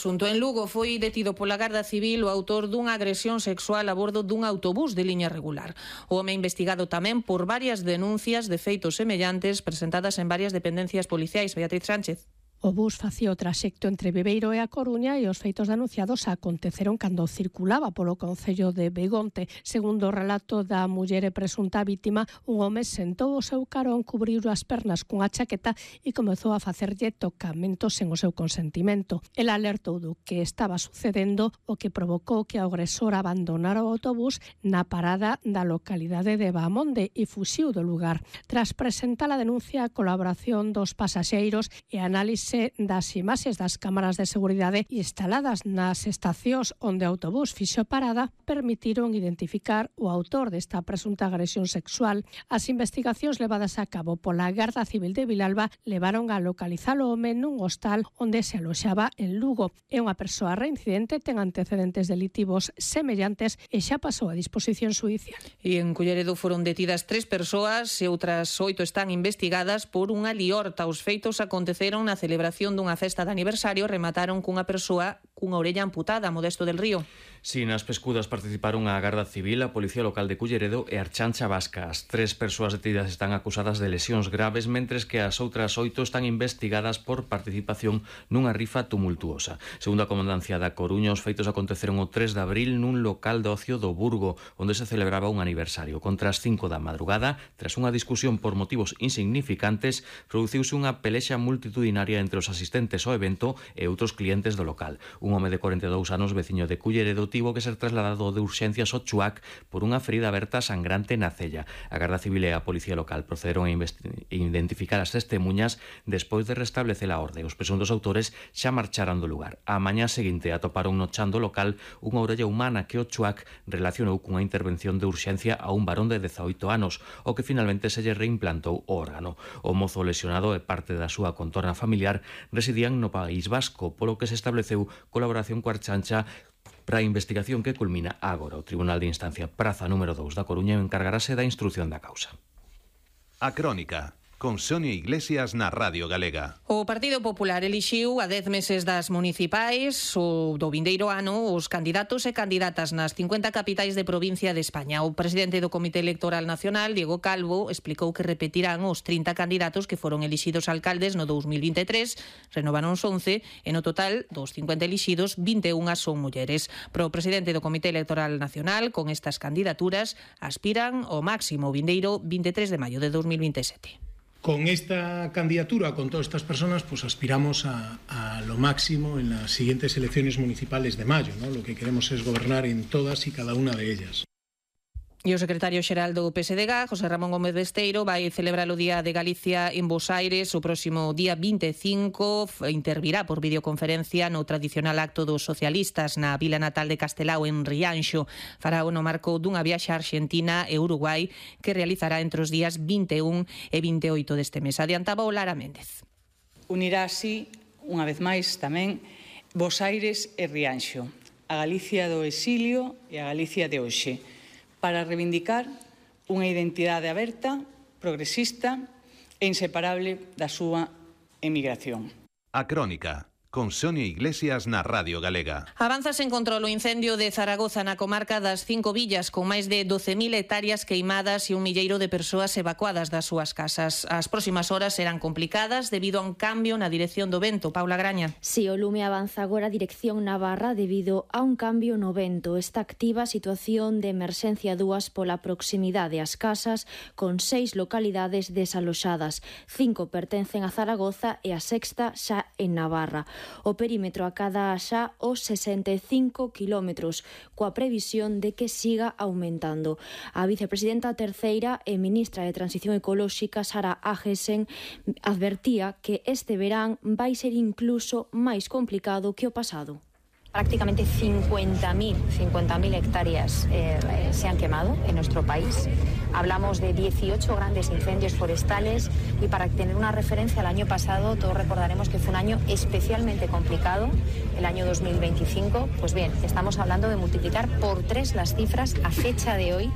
asunto. En Lugo foi detido pola Garda Civil o autor dunha agresión sexual a bordo dun autobús de liña regular. O home investigado tamén por varias denuncias de feitos semellantes presentadas en varias dependencias policiais. Beatriz Sánchez. O bus facía o traxecto entre Bebeiro e A Coruña e os feitos denunciados aconteceron cando circulaba polo concello de Begonte. Segundo o relato da muller e presunta vítima, un home sentou o seu carón, cubriu as pernas cunha chaqueta e comezou a facerlle tocamentos sen o seu consentimento. El alertou do que estaba sucedendo, o que provocou que o agresor abandonara o autobús na parada da localidade de Bahamonde e fuxiu do lugar. Tras presentar a denuncia, a colaboración dos pasaxeiros e análise das imaxes das cámaras de seguridade instaladas nas estacións onde o autobús fixo parada permitiron identificar o autor desta presunta agresión sexual. As investigacións levadas a cabo pola Garda Civil de Vilalba levaron a localizar o home nun hostal onde se aloxaba en Lugo. É unha persoa reincidente, ten antecedentes delitivos semellantes e xa pasou a disposición xudicial. E en Culleredo foron detidas 3 persoas e outras 8 están investigadas por unha liorta. Os feitos aconteceron na celebración dunha festa de aniversario, remataron cunha persoa cunha orella amputada. Modesto del Río. Si, nas pescudas participaron a Garda Civil, a Policía Local de Culleredo e a Archancha Vasca. As 3 persoas detidas están acusadas de lesións graves, mentres que as outras 8 están investigadas por participación nunha rifa tumultuosa. Segundo a Comandancia da Coruña, os feitos aconteceron o 3 de abril nun local de ocio do Burgo, onde se celebraba un aniversario. Contra as 5 da madrugada, tras unha discusión por motivos insignificantes, produciuse unha pelexa multitudinaria entre os asistentes ao evento e outros clientes do local. Un home de 42 anos, veciño de Culleredo, tivo que ser trasladado de urxencias ao Chuac por unha ferida aberta sangrante na cella. A Garda Civil e a Policía Local procederon a identificar as testemunhas despois de restablecer a orde. Os presuntos autores xa marcharan do lugar. A mañá seguinte atoparon no chan do local unha orella humana que o Chuac relacionou cunha intervención de urxencia a un varón de 18 anos, o que finalmente se lle reimplantou o órgano. O mozo lesionado e parte da súa contorna familiar residían no País Vasco, polo que se estableceu colaboración coa Archancha para a investigación que culmina agora. O Tribunal de Instancia Praza número 2 da Coruña encargarase da instrución da causa. A Crónica, con Sonia Iglesias na Radio Galega. O Partido Popular elixiu a 10 meses das municipais o do vindeiro ano os candidatos e candidatas nas 50 capitais de provincia de España. O presidente do Comité Electoral Nacional, Diego Calvo, explicou que repetirán os 30 candidatos que foron elixidos alcaldes no 2023, renovaron 11 e no total dos 50 elixidos, 21 son mulleres. Pro presidente do Comité Electoral Nacional, con estas candidaturas aspiran ao máximo vindeiro 23 de maio de 2027. Con esta candidatura, con todas estas personas, pues aspiramos a lo máximo en las siguientes elecciones municipales de mayo, ¿no? Lo que queremos es gobernar en todas y cada una de ellas. E o secretario xeral do PSDG, José Ramón Gómez Besteiro, vai celebrar o Día de Galicia en Bos Aires o próximo día 25. Intervirá por videoconferencia no tradicional acto dos socialistas na vila natal de Castelao, en Rianxo. Fará o no marco dunha viaxe a Argentina e Uruguai que realizará entre os días 21 e 28 deste mes. Adiantaba o Lara Méndez. Unirá así, unha vez máis tamén, Bos Aires e Rianxo, a Galicia do exilio e a Galicia de hoxe, para reivindicar unha identidade aberta, progresista e inseparable da súa emigración. A Crónica, con Sonia Iglesias na Radio Galega. Avanza sen control o incendio de Zaragoza na comarca das 5 villas, con máis de 12.000 hectáreas queimadas e un milleiro de persoas evacuadas das súas casas. As próximas horas serán complicadas debido a un cambio na dirección do vento. Paula Graña. Si, o lume avanza agora a dirección Navarra debido a un cambio no vento. Está activa a situación de emerxencia 2 pola proximidade ás casas, con 6 localidades desaloxadas. 5 pertencen a Zaragoza e a sexta xa en Navarra. O perímetro acada xa os 65 kilómetros, coa previsión de que siga aumentando. A vicepresidenta terceira e ministra de Transición Ecolóxica, Sara Agesen, advertía que este verán vai ser incluso máis complicado que o pasado. Prácticamente 50.000 hectáreas se han quemado en nuestro país. Hablamos de 18 grandes incendios forestales y para tener una referencia al año pasado, todos recordaremos que fue un año especialmente complicado, el año 2025. Pues bien, estamos hablando de multiplicar por 3 las cifras a fecha de hoy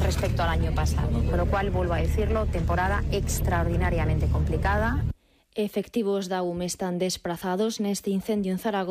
respecto al año pasado. Con lo cual, vuelvo a decirlo, temporada extraordinariamente complicada. Efectivos da UME están desprazados neste incendio en Zaragoza.